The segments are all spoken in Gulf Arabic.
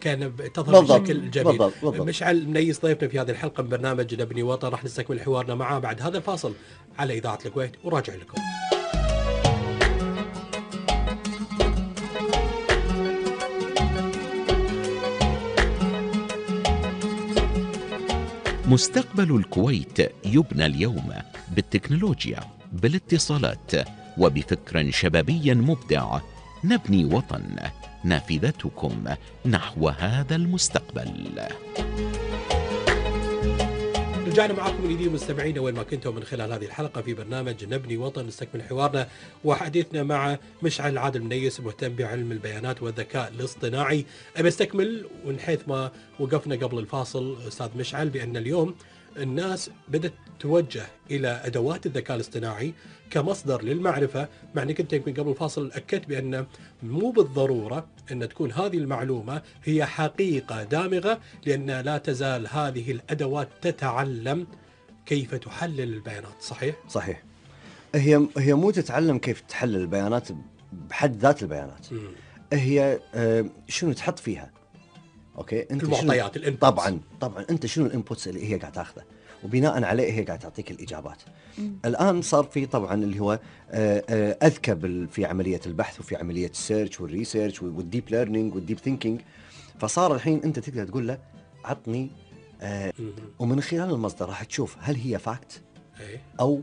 كان تظهر بالضبط بشكل جميل. بالضبط. مشعل منيس ضيفنا في هذه الحلقة من برنامج نبني وطن، راح نستكمل حوارنا معاه بعد هذا الفاصل على إذاعة الكويت، وراجع لكم. مستقبل الكويت يبنى اليوم بالتكنولوجيا، بالاتصالات، وبفكر شبابي مبدع. نبني وطن، نافذتكم نحو هذا المستقبل. رجعنا معاكم من جديد مستمعينا وين ما كنتم من خلال هذه الحلقة في برنامج نبني وطن. نستكمل حوارنا وحديثنا مع مشعل عادل منيس، مهتم بعلم البيانات والذكاء الاصطناعي. أبي استكمل من حيث ما وقفنا قبل الفاصل أستاذ مشعل، بأن اليوم الناس بدأت توجه إلى أدوات الذكاء الاصطناعي كمصدر للمعرفة، مع أنك أنت يمكن قبل الفاصل أكدت بأن مو بالضرورة أن تكون هذه المعلومة هي حقيقة دامغة، لأن لا تزال هذه الأدوات تتعلم كيف تحلل البيانات. صحيح؟ صحيح. هي مو تتعلم كيف تحلل البيانات بحد ذات البيانات. هي شنو تحط فيها. اوكي، انت المعطيات طبعا انت شنو الانبوتس اللي هي قاعد تاخذه، وبناء عليه هي قاعد تعطيك الاجابات. الان صار في طبعا اللي هو اذكى في عمليه البحث وفي عمليه السيرش والريسيرش والديب ليرنينج والديب ثينكينج. فصار الحين انت تقدر تقول له عطني ومن خلال المصدر راح تشوف هل هي فاكت او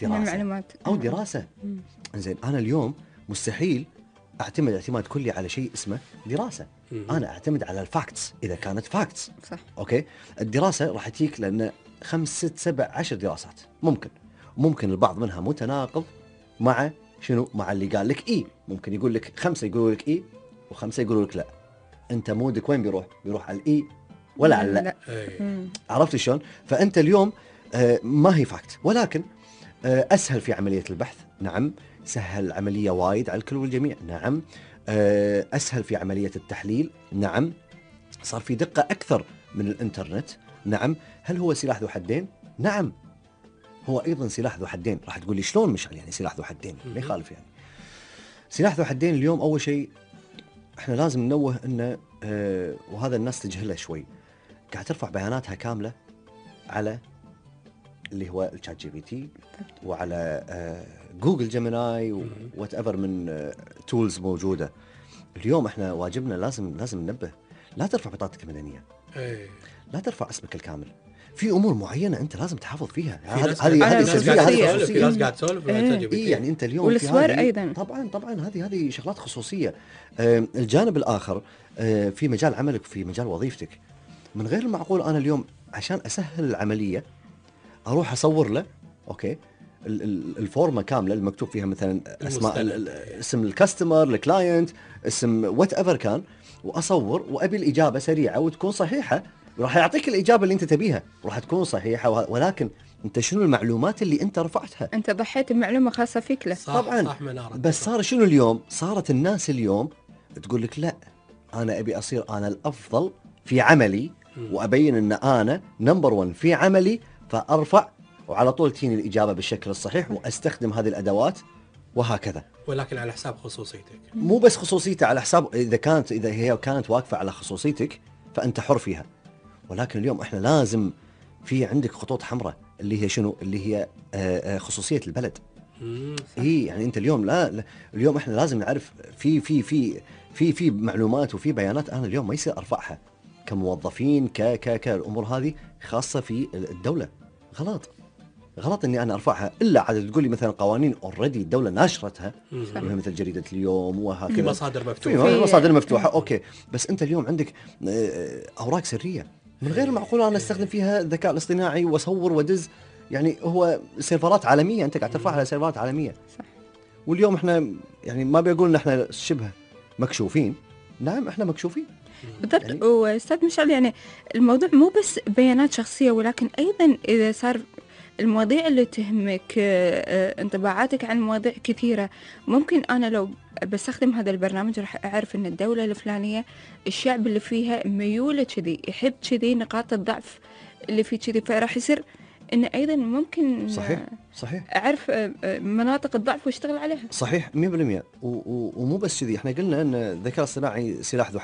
دراسه معلومات او دراسه. زين، انا اليوم مستحيل اعتمد اعتماد كلي على شيء اسمه دراسه. انا اعتمد على الفاكتس اذا كانت فاكتس. صح. اوكي، الدراسه راح تجيك لان 5 6 7 10 دراسات ممكن البعض منها متناقض مع شنو، مع اللي قال لك اي. ممكن يقول لك 5 يقولوا لك اي و5 يقولوا لك لا. انت مودك وين بيروح على الاي ولا على لا. عرفت شلون؟ فانت اليوم ما هي فاكت، ولكن اسهل في عمليه البحث. نعم، سهل العمليه وايد على الكل والجميع. نعم، اسهل في عمليه التحليل. نعم، صار في دقه اكثر من الانترنت. نعم، هل هو سلاح ذو حدين؟ نعم، هو ايضا سلاح ذو حدين. راح تقول لي شلون مشعل يعني سلاح ذو حدين؟ ما يخالف يعني. سلاح ذو حدين اليوم اول شيء احنا لازم ننوه انه وهذا الناس تجهله شوي، قاعد ترفع بياناتها كامله على اللي هو الشات جي بي تي وعلى جوجل جيميناي وات ايفر من تولز موجوده. اليوم احنا واجبنا لازم ننبه، لا ترفع بطاقتك المدنيه، لا ترفع اسمك الكامل. في امور معينه انت لازم تحافظ فيها. هذه في ناس قاعد تسولف يعني انت اليوم والصور ايضا طبعا هذه شغلات خصوصيه. الجانب الاخر في مجال عملك في مجال وظيفتك، من غير المعقول انا اليوم عشان اسهل العمليه اروح اصور له اوكي الفورمه كامله المكتوب فيها مثلا اسماء اسم الكاستمر، الكلاينت، اسم وات ايفر كان، واصور وابي الاجابه سريعه وتكون صحيحه، وراح يعطيك الاجابه اللي انت تبيها وراح تكون صحيحه. ولكن انت شنو المعلومات اللي انت رفعتها؟ انت ضحيت بمعلومه خاصه فيك له. طبعا صح بس صار شنو اليوم؟ صارت الناس اليوم تقول لك لا، انا ابي اصير انا الافضل في عملي وابين ان انا نمبر 1 في عملي، فارفع وعلى طول تجيني الإجابة بالشكل الصحيح وأستخدم هذه الأدوات وهكذا. ولكن على حساب خصوصيتك. مو بس خصوصيته، على حساب إذا هي كانت واقفة على خصوصيتك فأنت حر فيها. ولكن اليوم إحنا لازم في عندك خطوط حمراء اللي هي شنو؟ اللي هي خصوصية البلد. يعني أنت اليوم لا اليوم إحنا لازم نعرف في معلومات وفي بيانات أنا اليوم ما يصير أرفعها كموظفين الأمور هذه خاصة في الدولة. غلط اني انا ارفعها، الا عاد تقول لي مثلا قوانين اوريدي الدوله ناشرتها مثل جريده اليوم وهكذا، في مصادر مفتوحه، في مصادر مفتوحه اوكي. بس انت اليوم عندك اوراق سريه من غير المعقول انا استخدم فيها الذكاء الاصطناعي واصور ودز. يعني هو سيرفرات عالميه، انت قاعد ترفعها على سيرفرات عالميه. صح. واليوم احنا يعني ما بيقول ان احنا شبه مكشوفين. نعم احنا مكشوفين بالضبط يعني. واستاذ مشعل يعني الموضوع مو بس بيانات شخصيه، ولكن ايضا اذا صار المواضيع اللي تهمك، انطباعاتك عن مواضيع كثيرة، ممكن أنا لو بستخدم هذا البرنامج راح أعرف أن الدولة الفلانية الشعب اللي فيها ميولة كذي، يحب كذي، نقاط الضعف اللي فيه كذي، فراح يصير إن أيضا ممكن صحيح أعرف مناطق الضعف واشتغل عليها. صحيح 100%. ومو بس كذي، احنا قلنا أن الذكاء الصناعي سلاح ذو